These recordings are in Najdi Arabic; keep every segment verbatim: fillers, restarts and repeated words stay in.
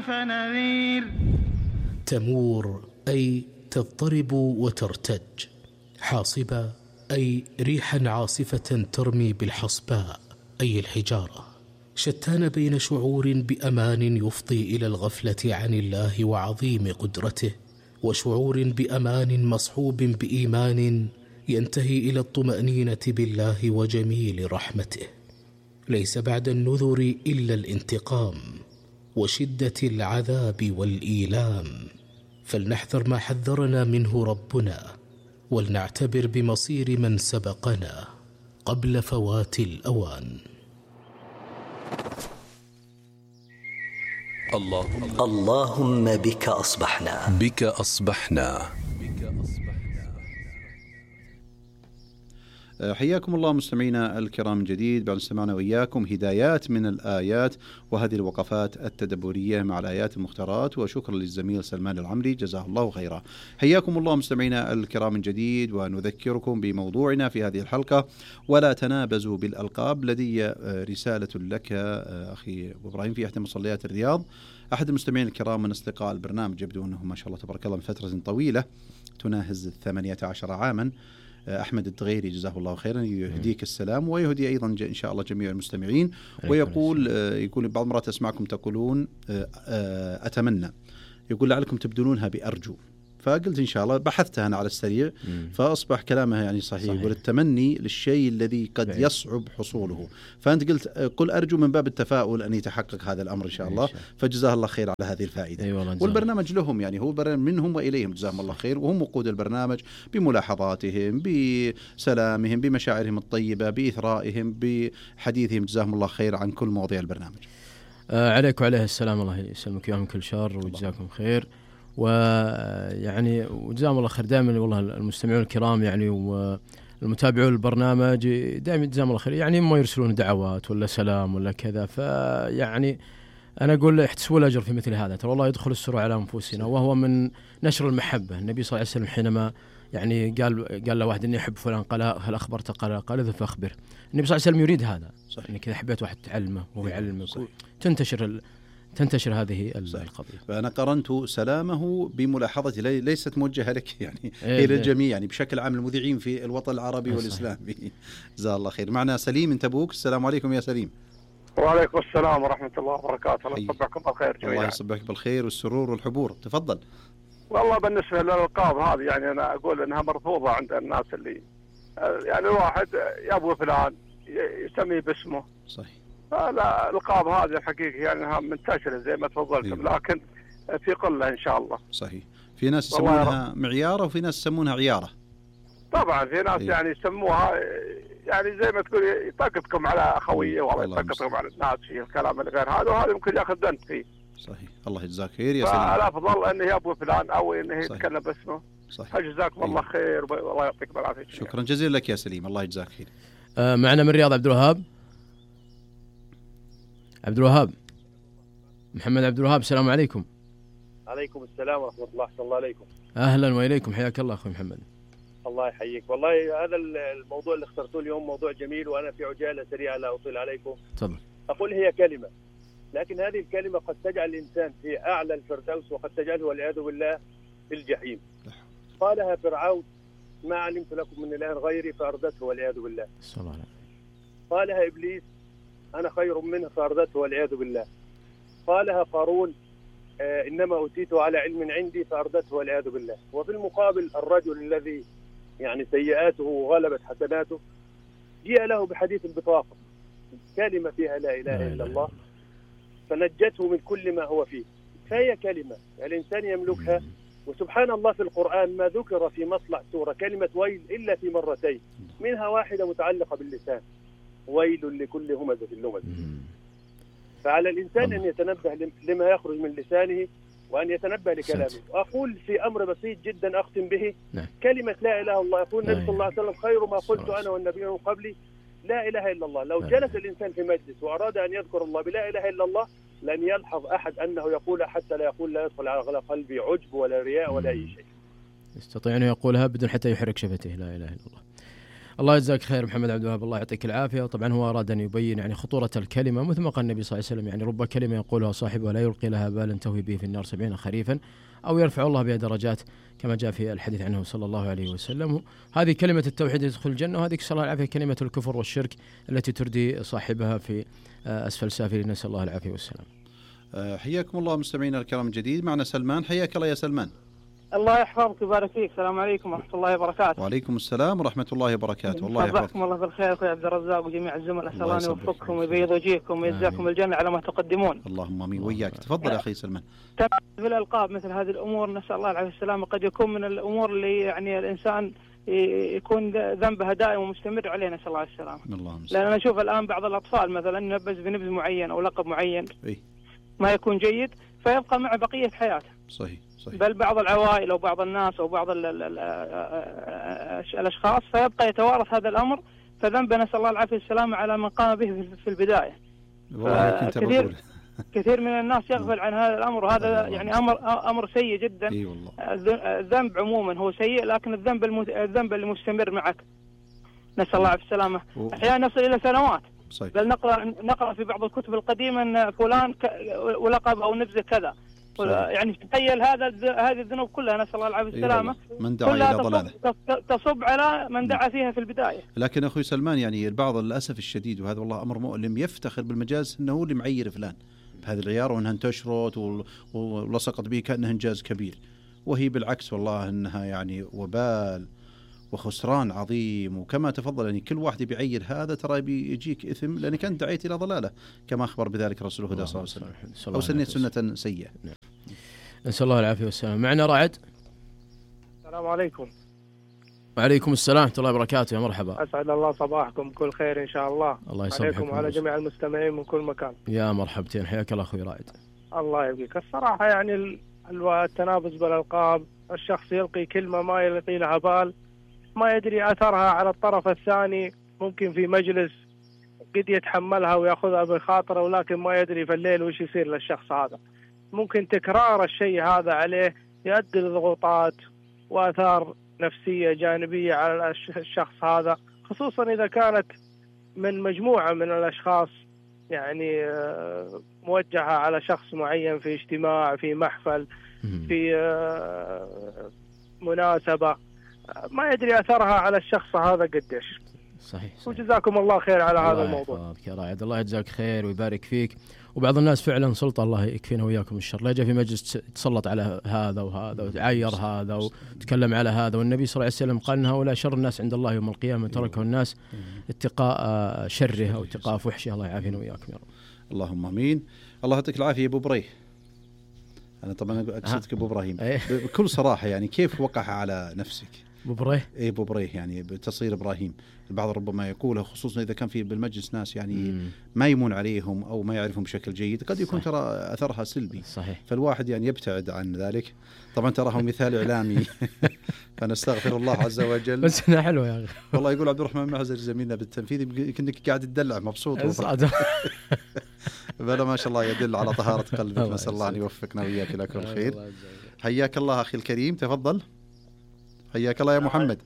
فنذير. تمور أي تضطرب وترتج، حاصبة أي ريحا عاصفة ترمي بالحصباء أي الحجارة. شتان بين شعور بأمان يفضي إلى الغفلة عن الله وعظيم قدرته، وشعور بأمان مصحوب بإيمان ينتهي إلى الطمأنينة بالله وجميل رحمته. ليس بعد النذر إلا الانتقام وشدة العذاب والإيلام، فلنحذر ما حذرنا منه ربنا، ولنعتبر بمصير من سبقنا قبل فوات الأوان. اللهم, اللهم بك أصبحنا بك أصبحنا. حياكم الله مستمعينا الكرام من جديد، بعد استمعنا وإياكم هدايات من الآيات وهذه الوقفات التدبرية مع الآيات المختارات، وشكرا للزميل سلمان العمري جزاه الله خيرا. حياكم الله مستمعينا الكرام من جديد، ونذكركم بموضوعنا في هذه الحلقة: ولا تنابزوا بالألقاب. لدي رسالة لك أخي أبو إبراهيم في إحدى مصليات الرياض. أحد المستمعين الكرام من أصدقاء البرنامج، يبدو أنه ما شاء الله تبارك الله من فترة طويلة تناهز الثمانية عشر عاما، أحمد الدغيري جزاه الله خيرا، يهديك السلام ويهدي أيضا إن شاء الله جميع المستمعين. ويقول يقول بعض المرات أسمعكم تقولون أتمنى، يقول لعلكم تبدلونها بأرجو، فقلت إن شاء الله بحثتها أنا على السريع، فأصبح كلامها يعني صحيح, صحيح. والتمني للشيء الذي قد بعيد. يصعب حصوله، فأنت قلت قل أرجو من باب التفاؤل أن يتحقق هذا الأمر إن شاء الله، فجزاه الله خير على هذه الفائدة. أيوة، والبرنامج لهم يعني هو برنامج منهم وإليهم جزاهم الله خير، وهم وقود البرنامج بملاحظاتهم بسلامهم بمشاعرهم الطيبة بإثرائهم بحديثهم، جزاهم الله خير عن كل مواضيع البرنامج. آه عليك وعليه السلام، الله يسلمك يا من كل شر وجزاكم خير. ويعني وجزاهم الله خير دائما والله المستمعون الكرام يعني والمتابعون البرنامج دائما جزاهم الله خير، يعني ما يرسلون دعوات ولا سلام ولا كذا، فيعني أنا أقول احتسبوا الأجر في مثل هذا، ترى الله يدخل السرور على أنفسنا، وهو من نشر المحبة. النبي صلى الله عليه وسلم حينما يعني قال قال له واحد إني أحب فلان، قال هل أخبرت؟ قال قال إذا فأخبر. النبي صلى الله عليه وسلم يريد هذا، إنك إذا حبيت واحد تعلمه وهو يعلمك تنتشر ال تنتشر هذه القضية. فأنا قرنت سلامه بملاحظتي ليست موجهة لك يعني إيه إلى الجميع، يعني بشكل عام المذيعين في الوطن العربي والإسلامي. جزاه الله خير. معنا سليم من تبوك. السلام عليكم يا سليم. وعليكم السلام ورحمة الله وبركاته. الله يصبحكم بالخير جميعا. الله يصبحك بالخير والسرور والحبور. تفضل. والله بالنسبة للألقاب هذه يعني أنا أقول أنها مرفوضة عند الناس، اللي يعني الواحد يبغى فلان يسميه باسمه. صحيح. لا الألقاب هذه الحقيقة يعني أنها منتشرة زي ما تفضلتم، لكن في قلة إن شاء الله. صحيح. في ناس يسمونها معيارة وفي ناس يسمونها عيارة. طبعا في ناس إيه؟ يعني يسموها يعني زي ما تقول يطقطكم على أخوية ولا يطقطكم على الناس في الكلام الغير هذا، وهذا ممكن ياخذ دنت فيه. صحيح. الله يجزاك خير يا سليم. فالأفضل أنه يبغى فلان أو أنه يتكلم باسمه. صحيح. جزاكم الله خير والله يعطيكم العافية. شكرا جزيلا لك يا سليم، الله يجزاك خير. آه معنا من الرياض عبد الوهاب. عبد الوهاب محمد عبد الوهاب، السلام عليكم. عليكم السلام ورحمة الله. أحسن الله عليكم. أهلا وإليكم، حياك الله أخوي محمد. الله يحييك. والله هذا الموضوع اللي اخترتوه اليوم موضوع جميل، وأنا في عجالة سريعة لا أطيل عليكم. تفضل. أقول هي كلمة، لكن هذه الكلمة قد تجعل الإنسان في أعلى الفردوس وقد تجعله والعياذ بالله في الجحيم. قالها فرعون: ما علمت لكم من إله غيري فأردته والعياذ بالله. قالها إبليس: أنا خير منه فأردته والعياذ بالله. قالها قارون: آه إنما أوتيته على علم عندي فأردته والعياذ بالله. وفي المقابل الرجل الذي يعني سيئاته غلبت حسناته جاء له بحديث البطاقة، كلمة فيها لا إله إلا الله فنجته من كل ما هو فيه. فهي كلمة الإنسان يملكها، وسبحان الله في القرآن ما ذكر في مطلع سورة كلمة ويل إلا في مرتين، منها واحدة متعلقة باللسان: ويل لكل همزة لمزة. فعلى الإنسان أن يتنبه لما يخرج من لسانه وأن يتنبه لكلامه. وأقول في أمر بسيط جدا أختم به: كلمة لا إله إلا الله. يقول النبي صلى الله عليه وسلم: خير ما قلت أنا والنبيون من قبلي لا إله إلا الله. لو جلس الإنسان في مجلس وأراد أن يذكر الله بلا إله إلا الله لن يلحظ أحد أنه يقول حتى لا يقول لا يدخل على قلبي عجب ولا رياء ولا أي شيء. يستطيع أن يقولها بدون حتى يحرك شفتيه لا إله إلا الله. الله يجزاك خير محمد عبد الوهاب، الله يعطيك العافية. وطبعا هو أراد أن يبين يعني خطورة الكلمة، مثل ما قال النبي صلى الله عليه وسلم يعني رب كلمة يقولها صاحبها لا يلقي لها بالا تهوي به في النار سبعين خريفا أو يرفع الله بها درجات كما جاء في الحديث عنه صلى الله عليه وسلم. هذه كلمة التوحيد يدخل الجنة، وهذه صلى الله العافية كلمة الكفر والشرك التي تردي صاحبها في أسفل سافلين، نسأل الله العافية والسلام. حياكم الله مستمعينا الكرام الجديد. معنا سلمان، حياك الله يا سلمان. الله يحفظك ويبارك فيك. السلام عليكم ورحمة الله وبركاته. وعليكم السلام ورحمة الله وبركاته. والله يحفظكم الله بالخير أخوي عبد الرزاق وجميع الزملاء، أسأل الله أن يوفقكم ويبيض وجيهكم ويجزاكم الجنة على ما تقدمون. اللهم آمين وإياك. تفضل يا أخي سلمان. في الألقاب مثل هذه الأمور نسأل الله العافية والسلامة قد يكون من الأمور اللي يعني الإنسان يكون ذنبها دائم ومستمر عليه، نسأل الله السلامة. لأن أنا أشوف الآن بعض الأطفال مثلا ينبذ بنبذ معين أو لقب معين إيه؟ ما يكون جيد فيبقى معه بقية حياته. صحيح. صحيح. بل بعض العوائل أو بعض الناس أو بعض الأشخاص فيبقى يتوارث هذا الأمر، فذنبه نسأل الله العافية والسلامة على من قام به في البداية. كثير كثير من الناس يغفل عن هذا الأمر، وهذا يعني أمر أمر سيء جدا. إيه والله. الذنب عموما هو سيء، لكن الذنب الذنب المستمر معك نسأل الله العافية والسلامة أحيانا نصل إلى سنوات. صحيح. بل نقرأ نقرأ في بعض الكتب القديمة أن فلان ولقب أو نبذة كذا. صحيح. يعني تخيل هذا هذه الذنوب كلها نسأل الله العافية والسلامة من دعا إلى ضلاله تصب على من دعا فيها في البداية. لكن أخوي سلمان يعني البعض للأسف الشديد، وهذا والله أمر مؤلم، يفتخر بالمجاز أنه هو اللي معير فلان بهذه العيار وأنها انتشرت ولصقت به كأنها إنجاز كبير، وهي بالعكس والله أنها يعني وبال وخسران عظيم. وكما تفضل يعني كل واحد بيعير هذا ترى بيجيك إثم لأنك أنت دعيت إلى ضلالة كما أخبر بذلك رسول الله صلى الله عليه وسلم، أو سنة سنة سيئة. نسأل الله العافية والسلام. معنا رعد. السلام عليكم. وعليكم السلام ورحمة الله وبركاته. يا مرحبا. أسعد الله صباحكم بكل خير إن شاء الله. الله يسعدكم عليكم وعلى جميع المستمعين من كل مكان. يا مرحبتين، حياك الله أخوي رائد. الله يبقيك. الصراحة يعني التنافس بالألقاب، الشخص يلقي كلمة ما يلقي لها بال، ما يدري أثرها على الطرف الثاني، ممكن في مجلس قد يتحملها ويأخذها بخاطره، ولكن ما يدري في الليل وش يصير للشخص هذا. ممكن تكرار الشيء هذا عليه يؤدي لضغوطات وآثار نفسية جانبية على الشخص هذا، خصوصا إذا كانت من مجموعة من الأشخاص يعني موجهة على شخص معين في اجتماع، في محفل، في مناسبة، ما يدري أثرها على الشخص هذا قديش. صحيح, صحيح. وجزاكم الله خير على هذا الموضوع. يا رائد، الله يجزاك خير ويبارك فيك. وبعض الناس فعلا سلطة، الله يكفينا وياكم الشر، لا جاء في مجلس تسلط على هذا وهذا وتعير هذا وتكلم على هذا، والنبي صلى الله عليه وسلم قال إن هؤلاء شر الناس عند الله يوم القيامة، تركه الناس اتقاء شره أو اتقاء فحشه. الله يعافينا وياكم يا رب. اللهم آمين. الله يعطيك العافية يا أبو بريه. أنا طبعا أقصدك أبو إبراهيم بكل صراحة، يعني كيف وقع على نفسك؟ أبو بريه إيه أبو بريه يعني بتصير إبراهيم. البعض ربما يقوله خصوصا إذا كان في بالمجلس ناس يعني مم. ما يمون عليهم أو ما يعرفهم بشكل جيد، قد يكون ترى أثرها سلبي. صحيح. فالواحد يعني يبتعد عن ذلك. طبعا تراه مثال إعلامي فنستغفر الله عز وجل. بس أنا حلوة يا أخي والله. يقول عبد الرحمن معزر زميلنا بالتنفيذ كأنك قاعد تدلع مبسوط بلا ما شاء الله يدل على طهارة قلبك. نسأل الله أن يوفقنا وإياك إلى كل خير. حياك الله أخي الكريم، تفضل. حياك الله يا محمد.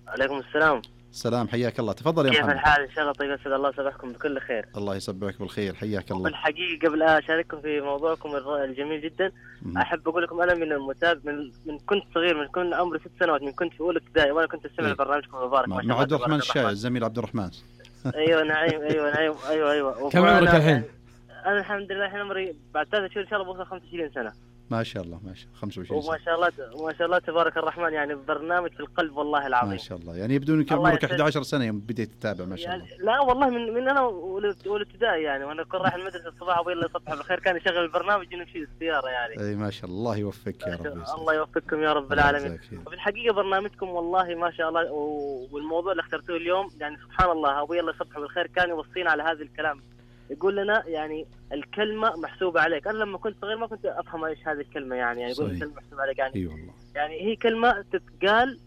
عليكم السلام. السلام، حياك الله، تفضل يا كيف محمد. كيف الحال؟ إن شاء الله طيب، أسعد الله صباحكم بكل خير. الله يصبحك بالخير، حياك الله. بالحقيقة قبل أشارككم في موضوعكم الجميل جدا، م- أحب أقول لكم أنا من المتابع من, من كنت صغير، من كنت عمري ست سنوات، من كنت في أولى ابتدائي وأنا كنت أستمع إيه؟ لبرنامجكم المبارك. مع, مع عبد الرحمن الشاعر، الزميل عبد الرحمن. أيوة نعيم، أيوة نعيم، أيوة أيوة. كم عمرك الحين؟ أنا الحمد لله الحين عمري بعد ثلاثة شهور إن شاء الله بوصل خمسة وعشرين سنة. ما شاء الله ما شاء الله خمسة وعشرين وما شاء الله ما شاء الله تبارك الرحمن، يعني برنامج في القلب والله العظيم. ما شاء الله، يعني يبدو انك عمرك أحد عشر سنة يوم بديت تتابع. ما شاء الله. يعني لا والله من من انا اولى ابتدائي يعني، وانا كنت رايح المدرسة الصباح ابوي الله يصبح بالخير كان يشغل البرنامج ونمشي السيارة يعني. اي ما شاء الله، الله يوفقك يا رب. الله يوفقكم يا رب العالمين. وفي الحقيقة برنامجكم والله ما شاء الله، والموضوع اللي اخترتوه اليوم يعني سبحان الله ابوي الله يصبح بالخير كان يوصينا على هذا الكلام، يقول لنا يعني الكلمة محسوبة عليك. أنا لما كنت صغير ما كنت أفهم إيش هذه الكلمة يعني، يعني يقول الكلمة محسوبة عليك يعني. أي والله. يعني هي كلمة تتقال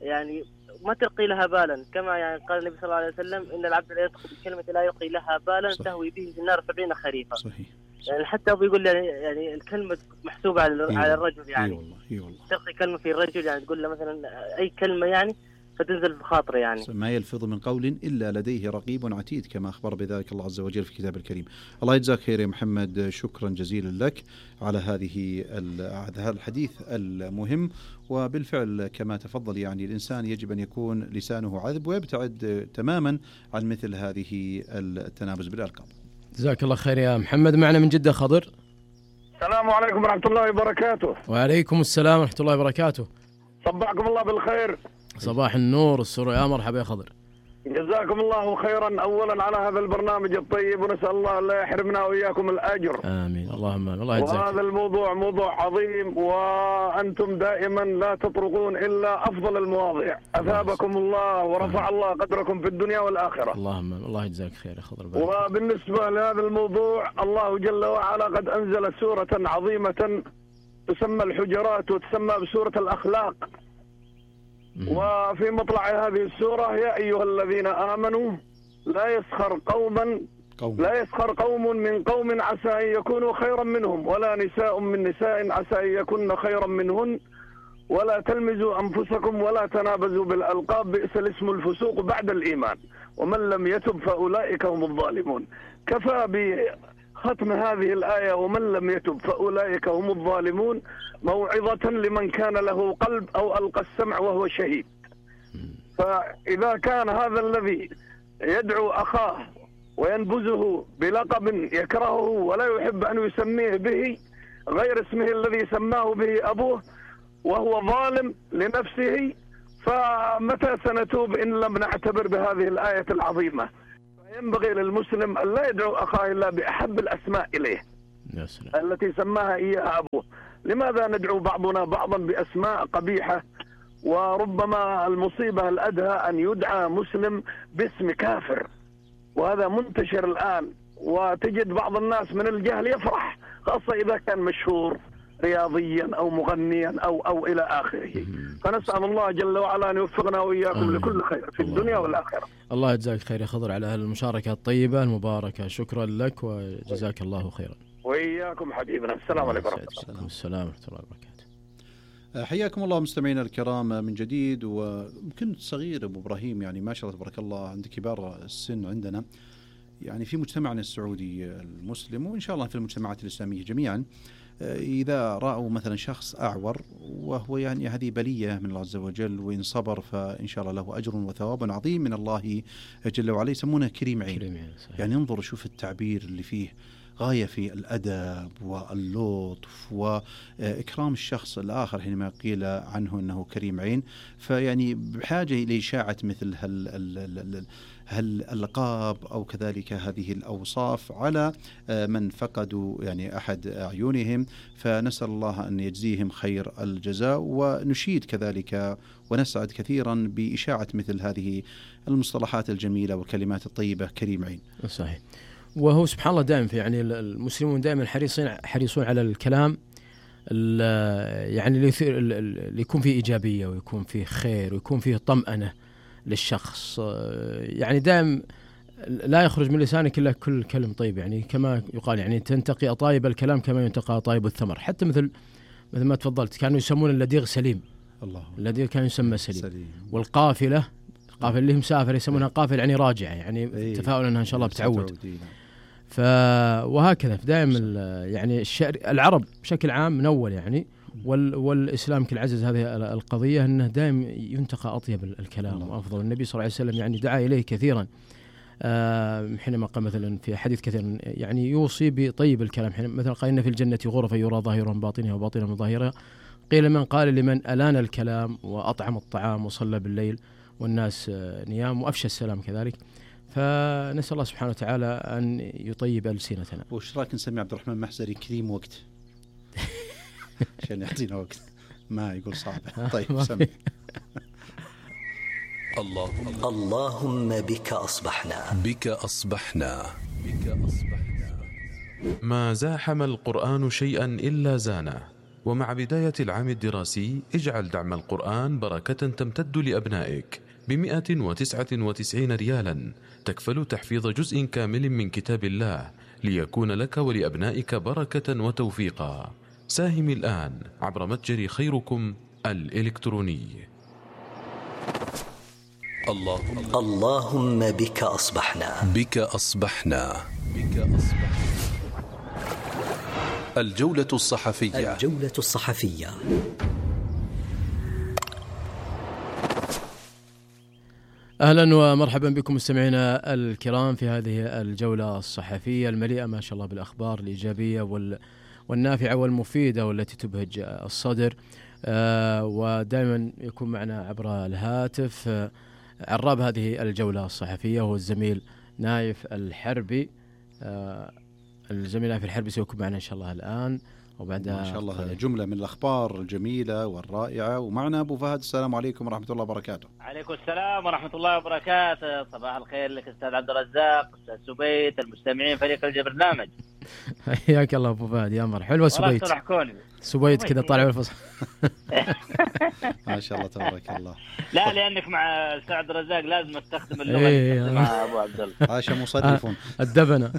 يعني ما تلقي لها بالا، كما يعني قال النبي صلى الله عليه وسلم إن العبد لا يدخل بكلمة لا يلقي لها بالا تهوي به في النار سبعين خريفا. صحيح. يعني حتى أبو يقول يعني, يعني الكلمة محسوبة على, على الرجل يعني. أي والله. أي والله. تلقي كلمة في الرجل يعني تقول له مثلا أي كلمة يعني فتنزل في خاطري يعني. ما يلفظ من قول إلا لديه رقيب عتيد كما أخبر بذلك الله عز وجل في كتاب الكريم. الله يجزاك خير يا محمد، شكرا جزيلا لك على هذه هذا الحديث المهم. وبالفعل كما تفضل يعني الإنسان يجب أن يكون لسانه عذب ويبتعد تماما عن مثل هذه التنابز بالألقاب. جزاك الله خير يا محمد. معنا من جدة خضر. السلام عليكم ورحمة الله وبركاته. وعليكم السلام ورحمة الله وبركاته. صبحكم الله بالخير. صباح النور والسرور، يا مرحبا يا خضر. جزاكم الله خيرا أولا على هذا البرنامج الطيب، ونسأل الله لا يحرمنا وإياكم الأجر. آمين اللهم آمين. الله يجزاك. وهذا الموضوع موضوع عظيم، وأنتم دائما لا تطرقون إلا أفضل المواضيع. أثابكم الله ورفع الله قدركم في الدنيا والآخرة. اللهم آمين. الله يجزاك خير يا خضر. وبالنسبة لهذا الموضوع، الله جل وعلا قد أنزل سورة عظيمة تسمى الحجرات وتسمى بسورة الأخلاق. وفي مطلع هذه السورة: يا أيها الذين آمنوا لا يسخر قوما قوم. لا يسخر قوم من قوم عسى أن يكونوا خيرا منهم، ولا نساء من نساء عسى أن يكون خيرا منهن، ولا تلمزوا أنفسكم ولا تنابزوا بالألقاب، بئس الاسم الفسوق بعد الإيمان، ومن لم يتب فأولئك هم الظالمون. كفى بختم هذه الآية ومن لم يتب فأولئك هم الظالمون موعظة لمن كان له قلب أو ألقى السمع وهو شهيد. فإذا كان هذا الذي يدعو أخاه وينبذه بلقب يكرهه ولا يحب أن يسميه به غير اسمه الذي سماه به أبوه وهو ظالم لنفسه، فمتى سنتوب إن لم نعتبر بهذه الآية العظيمة؟ ينبغي للمسلم أن لا يدعو أخاه إلا بأحب الأسماء إليه التي سماها إياها أبوه. لماذا ندعو بعضنا بعضا بأسماء قبيحة؟ وربما المصيبة الأدهى أن يدعى مسلم باسم كافر، وهذا منتشر الآن، وتجد بعض الناس من الجهل يفرح، خاصة إذا كان مشهور رياضيا أو مغنيا أو أو إلى آخره. فنسأل الله جل وعلا أن يوفقنا وإياكم آمين. لكل خير في الدنيا والآخرة. الله يجزاك خير يا خضر على المشاركة الطيبة المباركة، شكرا لك وجزاك الله خيرا. وإياكم حبيبنا. السلام عليكم ورحمة الله. السلام ورحمة الله وبركاته. حياكم الله مستمعينا الكرام من جديد. وكنت صغير أبو إبراهيم، يعني ما شاء الله تبارك الله عند كبار السن عندنا، يعني في مجتمعنا السعودي المسلم وإن شاء الله في المجتمعات الإسلامية جميعا، إذا رأوا مثلا شخص أعور وهو يعني هذه بلية من الله عز وجل، وإن صبر فإن شاء الله له أجر وثواب عظيم من الله جل وعلا، يسمونه كريم عين. كريم عين يعني انظر شوف التعبير اللي فيه غاية في الأدب واللطف وإكرام الشخص الآخر حينما قيل عنه أنه كريم عين. فيعني بحاجة لإشاعة مثل هال هالألقاب أو كذلك هذه الأوصاف على من فقدوا يعني أحد أعينهم، فنسأل الله أن يجزيهم خير الجزاء. ونشيد كذلك ونسعد كثيرا بإشاعة مثل هذه المصطلحات الجميلة والكلمات الطيبة كريم عين. صحيح. وهو سبحان الله دائما في يعني المسلمون دائما حريصين حريصون على الكلام يعني اللي يكون فيه إيجابية ويكون فيه خير ويكون فيه طمأنة للشخص، يعني دائما لا يخرج من لسانك إلا كل كلم طيب، يعني كما يقال يعني تنتقي أطايب الكلام كما ينتقى أطايب الثمر. حتى مثل مثل ما تفضلت كانوا يسمون اللديغ سليم. الله. اللديغ كان يسمى سليم. سليم. والقافلة قافل اللي مسافر يسمونها قافل يعني راجعة، يعني ايه تفاؤل أنها إن شاء الله بتعود. ف وهكذا دائما يعني الشعر العرب بشكل عام من أول يعني وال والإسلام كل عزز هذه القضية أنه دائما ينتقى أطيب الكلام وأفضل. النبي صلى الله عليه وسلم يعني دعا إليه كثيرا آه حينما قال مثلا في حديث كثير يعني يوصي بطيب الكلام، حين مثلا قال إن في الجنة غرفة يرى ظاهرها من باطنها وباطنها من ظاهرها. قيل من قال لمن ألان الكلام وأطعم الطعام وصلى بالليل والناس نيام وأفشى السلام كذلك. فنسأل الله سبحانه وتعالى أن يطيب ألسنتنا. وش رأيك نسمي عبد الرحمن محزري كريم وقت عشان يعطينا وقت ما يقول صعب. طيب سمي. اللهم اللهم بك أصبحنا بك أصبحنا بك أصبحنا. ما زاحم القرآن شيئا إلا زانه. ومع بداية العام الدراسي اجعل دعم القرآن بركة تمتد لأبنائك بمئة وتسعة وتسعين ريالا تكفل تحفيظ جزء كامل من كتاب الله ليكون لك ولأبنائك بركة وتوفيقا. ساهم الآن عبر متجر خيركم الإلكتروني. اللهم اللهم بك أصبحنا بك أصبحنا بك أصبحنا. الجولة الصحفية الجولة الصحفية. أهلا ومرحبا بكم مستمعينا الكرام في هذه الجولة الصحفية المليئة ما شاء الله بالأخبار الإيجابية والنافعة والمفيدة والتي تبهج الصدر. آه ودائما يكون معنا عبر الهاتف آه عراب هذه الجولة الصحفية هو الزميل نايف الحربي. آه الزميل نايف الحربي سيكون معنا إن شاء الله الآن وبعد ما شاء الله جملة من الأخبار الجميلة والرائعة. ومعنا أبو فهد. السلام عليكم ورحمة الله وبركاته. عليكم السلام ورحمة الله وبركاته. صباح الخير لك أستاذ عبد الرزاق، أستاذ سبيت، المستمعين فريق البرنامج. حياك الله أبو فهد. يا مرحبا. حلوة سبيت. سبيت كذا طالع بالفصل. ما شاء الله تبارك الله. لا لأنك مع أستاذ عبد الرزاق لازم استخدم اللغة اللي مع أبو عبد الله. عاش مصرفون. الدبنة.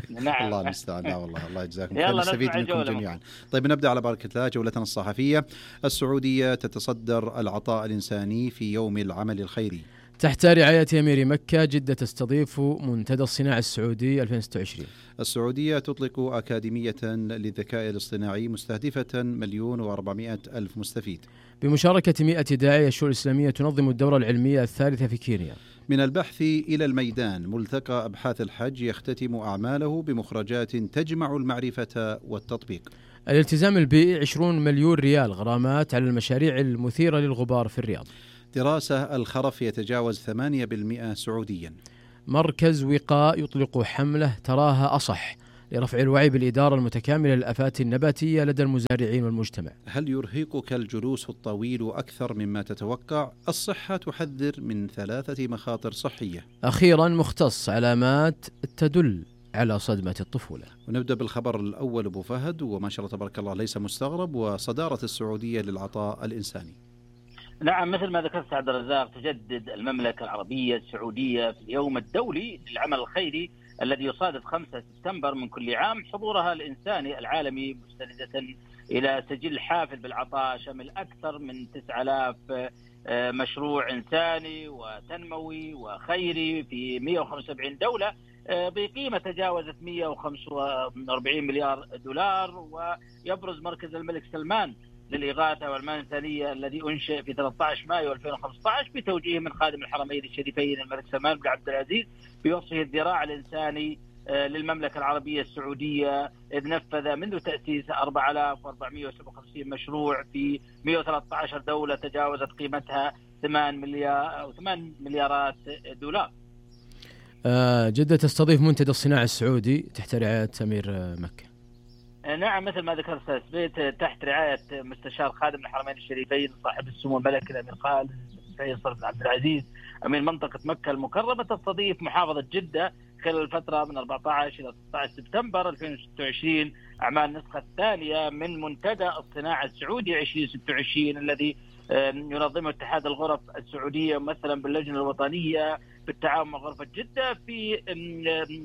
نعم. الله المستعان. لا والله الله يجزاكم خير. نستفيد منكم جميعا. طيب نبدأ على بركة الله جولتنا الصحفية. السعودية تتصدر العطاء الإنساني في يوم العمل الخيري. تحت رعاية أمير مكة جدة تستضيف منتدى الصناعة السعودي ألفين وستة وعشرين. السعودية تطلق أكاديمية للذكاء الاصطناعي مستهدفة مليون وأربعمائة ألف مستفيد. بمشاركة مئة داعية الشؤون الإسلامية تنظم الدورة العلمية الثالثة في كينيا. من البحث إلى الميدان ملتقى أبحاث الحج يختتم أعماله بمخرجات تجمع المعرفة والتطبيق. الالتزام البيئي عشرين مليون ريال غرامات على المشاريع المثيرة للغبار في الرياض. دراسة الخرف يتجاوز ثمانية بالمئة سعوديا. مركز وقاء يطلق حملة تراها أصح لرفع الوعي بالإدارة المتكاملة للآفات النباتية لدى المزارعين والمجتمع. هل يرهقك الجلوس الطويل أكثر مما تتوقع؟ الصحة تحذر من ثلاثة مخاطر صحية. أخيرا مختص علامات تدل على صدمة الطفولة. ونبدأ بالخبر الأول أبو فهد، وما شاء الله تبارك الله ليس مستغرب، وصدارة السعودية للعطاء الإنساني. نعم مثل ما ذكرت عبد الرزاق، تجدد المملكة العربية السعودية في اليوم الدولي للعمل الخيري الذي يصادف خمسة سبتمبر من كل عام حضورها الإنساني العالمي، مستندة إلى سجل حافل بالعطاء شمل أكثر من تسعة آلاف مشروع إنساني وتنموي وخيري في مئة وخمسة وسبعين دولة بقيمة تجاوزت مئة وخمسة وأربعين مليار دولار. ويبرز مركز الملك سلمان للإغاثة والمال الإنسانية الذي أنشئ في ثلاثة عشر مايو ألفين وخمسة عشر بتوجيه من خادم الحرمين الشريفين الملك سلمان بن عبد العزيز بوصفه الذراع الإنساني للمملكة العربية السعودية، إذ نفذ منذ تأسيس أربعة آلاف وأربعمئة وسبعة وخمسين مشروع في مئة وثلاثة عشر دولة تجاوزت قيمتها ثمانية مليار أو ثمانية مليارات دولار. جدة تستضيف منتدى الصناعة السعودي تحت رعاية أمير مكة. نعم مثل ما ذكرت أستاذ سبيت، تحت رعاية مستشار خادم الحرمين الشريفين صاحب السمو الملكي الأمير خالد فيصل بن عبد العزيز أمير منطقة مكة المكرمة، تستضيف محافظة جدة خلال الفترة من أربعة عشر إلى ستة عشر سبتمبر ألفين وستة وعشرين أعمال النسخة الثانية من منتدى الصناعة السعودي ألفين وستة وعشرين الذي ينظمه اتحاد الغرف السعودية مثلا باللجنة الوطنية بالتعاون مع غرفة جدة في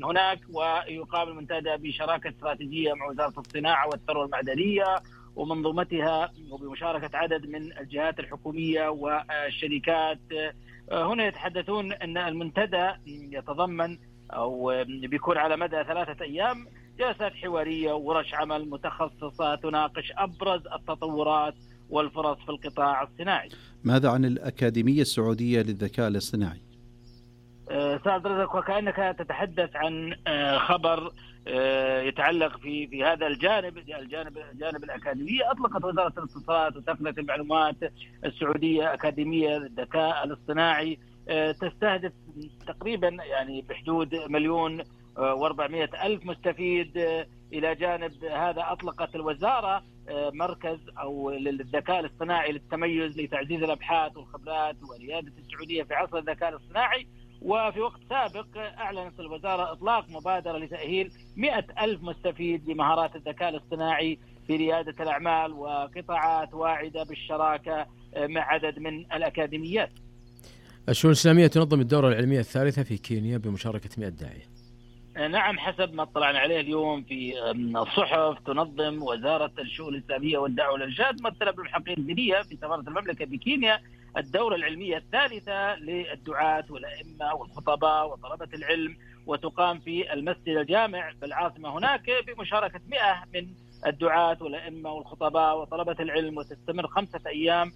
هناك. ويقام المنتدى بشراكة استراتيجية مع وزارة الصناعة والثروة المعدنية ومنظومتها وبمشاركة عدد من الجهات الحكومية والشركات. هنا يتحدثون أن المنتدى يتضمن أو بيكون على مدى ثلاثة أيام جلسات حوارية وورش عمل متخصصة تناقش أبرز التطورات والفرص في القطاع الصناعي. ماذا عن الأكاديمية السعودية للذكاء الاصطناعي؟ سعد رزق، وكأنك تتحدث عن خبر يتعلق في في هذا الجانب الجانب الجانب الأكاديمية. أطلقت وزارة الاتصالات وتقنية المعلومات السعودية أكاديمية للذكاء الاصطناعي تستهدف تقريبا يعني بحدود مليون وأربعمائة ألف مستفيد. إلى جانب هذا أطلقت الوزارة مركز أو للذكاء الاصطناعي للتميز لتعزيز الأبحاث والخبرات وريادة السعودية في عصر الذكاء الاصطناعي. وفي وقت سابق أعلنت الوزارة إطلاق مبادرة لتأهيل مئة ألف مستفيد بمهارات الذكاء الاصطناعي في ريادة الأعمال وقطاعات واعدة بالشراكة مع عدد من الأكاديميات. الشؤون الإسلامية تنظم الدورة العلمية الثالثة في كينيا بمشاركة مئة داعية. نعم، حسب ما اطلعنا عليه اليوم في الصحف، تنظم وزارة الشؤون الإسلامية والدعوة والإرشاد ممثلة بالمحققين الدينية في سفارة المملكة بكينيا الدورة العلمية الثالثة للدعاة والأئمة والخطباء وطلبة العلم، وتقام في المسجد الجامع بالعاصمة هناك بمشاركة مئة من الدعاة والأئمة والخطباء وطلبة العلم، وتستمر خمسة أيام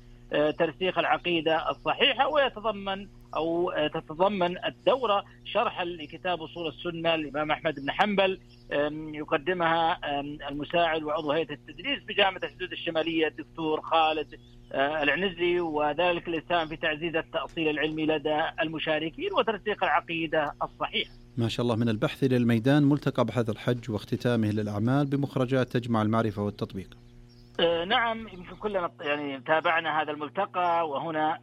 ترسيخ العقيدة الصحيحة. ويتضمن أو تتضمن الدورة شرحا لكتاب أصول السنة للإمام أحمد بن حنبل، يقدمها المساعد وعضو هيئة التدريس بجامعة الحدود الشمالية الدكتور خالد العنزي، وذلك الإسهام في تعزيز التأصيل العلمي لدى المشاركين وترسيخ العقيدة الصحيحة. ما شاء الله. من البحث إلى الميدان، ملتقى بحث الحج واختتامه للأعمال بمخرجات تجمع المعرفة والتطبيق. نعم، يمكن كلنا يعني تابعنا هذا الملتقى، وهنا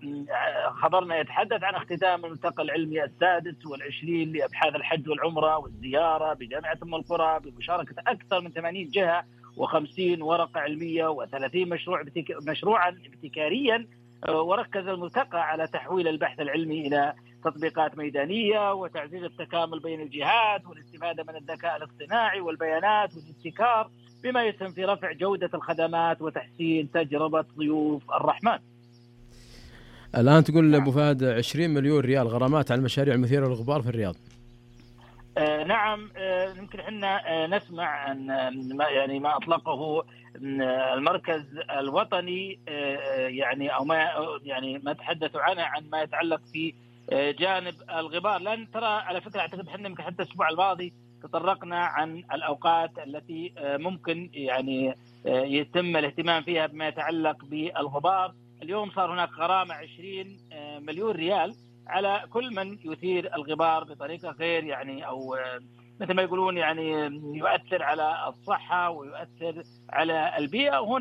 خبرنا يتحدث عن اختتام الملتقى العلمي السادس والعشرين لأبحاث الحج والعمرة والزيارة بجامعة أم القرى بمشاركة أكثر من ثمانين جهة وخمسين ورقة علمية وثلاثين مشروع بتك... مشروعا ابتكاريا. وركز الملتقى على تحويل البحث العلمي إلى تطبيقات ميدانية وتعزيز التكامل بين الجهات والاستفادة من الذكاء الاصطناعي والبيانات والابتكار، بما يسهم في رفع جودة الخدمات وتحسين تجربة ضيوف الرحمن. الآن تقول أبو فهد عشرين مليون ريال غرامات على المشاريع المثيرة للغبار في الرياض. آه نعم، آه يمكن احنا آه نسمع عن ما يعني ما أطلقه المركز الوطني، آه يعني أو ما يعني ما تحدثوا عنه عن ما يتعلق في آه جانب الغبار. لأن ترى على فكرة أعتقد احنا يمكن حتى الأسبوع الماضي تطرقنا عن الأوقات التي آه ممكن يعني آه يتم الاهتمام فيها بما يتعلق بالغبار. اليوم صار هناك غرامة عشرين آه مليون ريال على كل من يثير الغبار بطريقة غير يعني أو مثل ما يقولون يعني يؤثر على الصحة ويؤثر على البيئة. وهنا